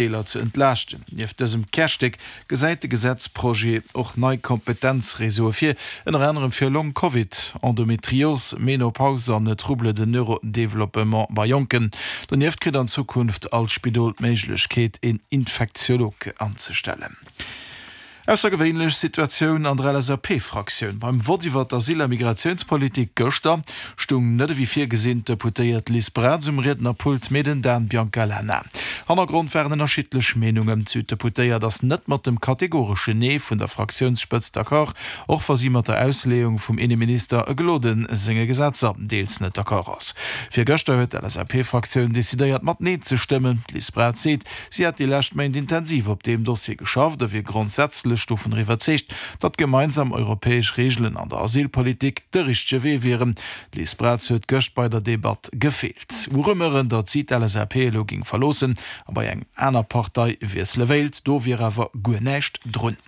Deeler ze entlaaschten. Nieft dësem Kärstéck gesäit de Gesetzprojet och nei Kompetenzreseaue vir, ënner anerem fir Long Covid, Endometrios, Menopause an Troubles de neurodéveloppement bei Jonken. Donieft kritt an Zukunft all Spidol d'Méiglechkeet, een Infektiolog anzestellen. Aussergewéinlech Situatioun an der LSAP-Fraktioun. Beim Vott iwwer d'Asyl a Migratiounspolitik gëschter stung net ewéi virgesinn d'Deputéiert Liz Braz um Riednerpult, mee den Dan Biancalana. Hannergrond waren ënnerschiddlech Meenungen. D'Süddeputéiert ass net mat dem kategoreschen Nee vun der Fraktiounsspëtzt d'accord, och wa si mat der Ausleeung vum Inneminister Gloden senge Gesetzer deels net d'accord ass. Virgëschter huet d'LSAP-Fraktioun decidéiert mat Nee ze stëmmen. D'Liz Braz seet, Si hätt déi lescht Méint intensiv op deem Dossier geschafft a wier grondsätzlech dovunner iwwerzeegt, datt gemeinsam europäesch Reegelen an der Asylpolitik de richtege Wee wieren. D'Liz Braz huet gëscht bei der Debatt gefeelt. U Rumeuren, datt si d'LSAP elo géing verloossen a bei eng aner Partei wiessele wéilt, do wier awer guer näischt drun.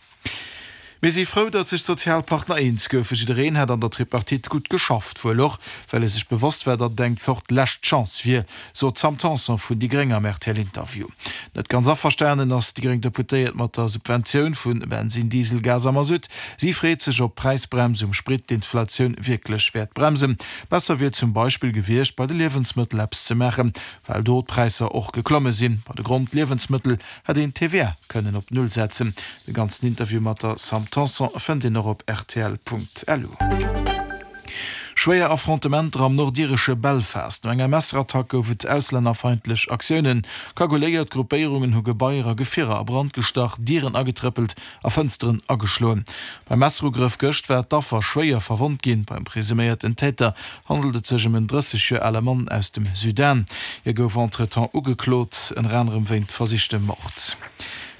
Mir si frou, datt sech d'Sozialpartner eens goufen. Jiddereen hätt an der Tripartite gutt geschafft, wuel och, well e sech bewosst war, datt et eng Zort lescht Chance wier, sot d'Sam Tanson vun déi Gréng am RTL-Interview. Net ganz averstanen ass déi gréng Deputéiert mat der Subventioun vu Bensinn, Diesel, Gas a Masutt. Si freet sech, ob d'Präisbrems um Sprit d'Inflatioun wierklech wäert bremsen. Besser wier zum Beispill gewiescht, bei de Liewensmëttel eppes ze maachen, well do d'Präisser och geklomme sinn. Bei de Grondliewensmëttel Hätt een d'TVA kënnen op Null setzen. De ganzen Interview mat der Sam Tanson fënnt een och op rtl.lu. Schwéier Affrontementer am nordiresche Belfast. No enger Messerattack gouf et auslännerfeindlech Aktiounen. Cagouléiert Gruppéierungen hu Gebaier a Gefierer a Brand gestach, Dieren agetrëppelt a Fënsteren ageschloen. Beim Messerugrëff gëscht war d'Affer schwéier verwonnt ginn. Beim presuméierten Täter handelt et sech ëm en 30 Joer ale Mann aus dem Sudan. Hie gouf entretemps ugeklot, ënner anerem wéint versichtem Mord.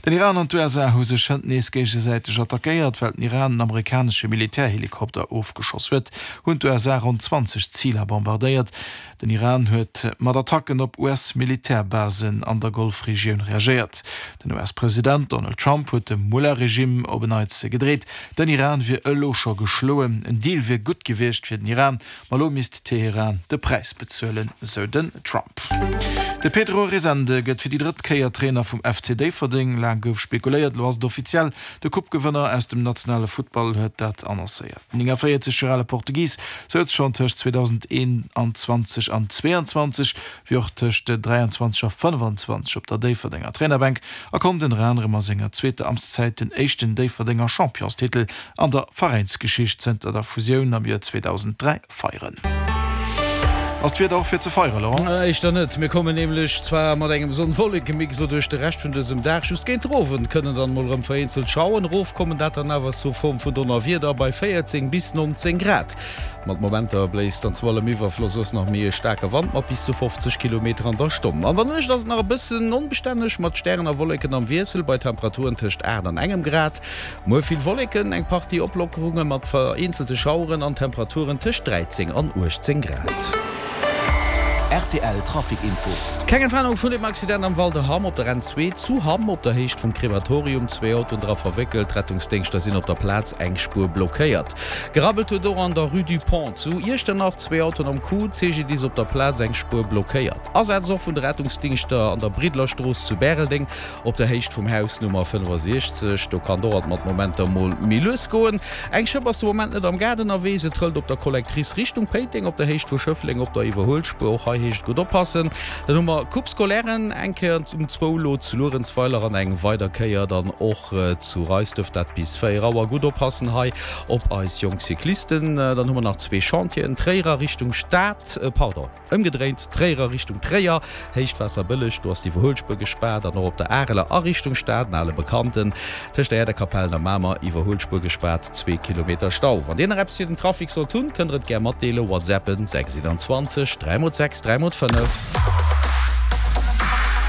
Den Iran an d'USA hu sech hënt nees géigesäiteg attackéiert. Well den Iran en amerikanesche Militärhelikopter ofgeschoss huet, hunn d'USA ronn 20 Ziler bombardéiert. Den Iran huet mat Attacken op US-Militärbasen an der Golfregioun reagéiert. Den US-President Donald Trump huet dem Mullah-Regime op en Neits gedreet, den Iran wier elo scho geschloen. En Deal wier gutt gewiescht fir den Iran, ma elo misst Teheran de Präis bezuelen, sou den Trump. De Pedro Resende gëtt fir déi drëtt Kéier Trainer vum FC Déifferdeng. Laang gouf spekuléiert, elo ass et offiziell, De Coupe-Gewënner aus dem nationale Futtball huet dat annoncéiert. Den 49 Joer ale Portugis souz schonn tëscht 2021 an 22, wéi och tëscht 23 a 25 op der Déifferdenger Trainerbänk a konnt ënner anerem a senger zweeter Amtszäit den éischten Déifferdenger Championstitel an der Veräinsgeschicht zënter der Fusioun am Joer 2003 feieren. Ass d'Wieder och fir ze feieren, Laurent? Éischter net. Mir kommen nämlech zwar mat engem Sonn-Wolleke-Mix elo duerch de Rescht vun dësem Dag, just géint den Owend kënnen dann mol erëm vereenzelt Schaueren erofkommen, dat dann awer sous Form vun Donnerwieder bei 14 bis 19 Grad. Mat Momenter bléist dann zu allem Iwwerfloss och nach méi e staarke Wand mat bis zu 50 Kilometer an der Stonn. An der Nuecht ass et nach e bëssen onbestänneg mat Stären a Wolleken am Wiessel bei Temperaturen tëscht 8 an engem Grad. Muer vill Wolleken, eng Partie Oplockerunge mat vereenzelte Schaueren an Temperaturen tëscht 13 an 18 Grad. Rtl Trafic Info. Keng Entwarnung vun dem Accident am Val de Hamm op der N2 zu Hamm op der Héicht vum Krematorium. Zwee Autoen dra verwéckelt. D'Rettungsdéngschter sinn op der Plaz, eng Spuer blockéiert. Gerabbelt huet och an der Rue du Pont zu Iechternach. Zwee Autoen am Coup, CGDIS op der Plaz, eng Spuer blockéiert. Asaz och vun de Rettungsdingschter an der Bridlerstrooss zu Bäreldeng. Op der Héicht vum Haus Nummer 65, do kann och alt mat Momenter mol méi lues goen. Eng Schëpp ass de Moment net am Gaart ënnerwee, se trëllt op der Collectrice Richtung Péiteng op der Héicht vu Schëffleng op der Iwwerhuelspuer. Och hei heescht et gutt oppassen. Dann hu mer Coupe Scolairen eng Kéier um zwou elo zu Luerenzweiler an eng weider Kéier dann och zu Reisduerf, dat bis 4 Auer. Gutt oppassen hei op eis jonk Cyclisten. Dann hu mer nach zwee Chantieren, Tréier a Richtung Stad, pardon. Ëmgedréint, Tréier a Richtung Tréier, Héicht Waasserbëlleg, do ass d'Iwwerhuelspuer gespaart, an och op der Areler a Richtung Stad, en ale Bekannten, tëscht der Äerderkapell a Mamer, Iwwerhuelspuer gespaart, zwee Kilometer Stau. Wann Dir nach eppes fir den Trafic sollt hunn, kënnt der et gär matdeelen, WhatsAppen 6 21 3 x 6 3 x 5.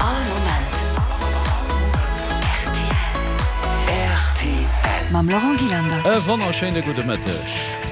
All Moment rtl. Mam Laurent Gillander. E wonnerschéine gudde Mëtteg.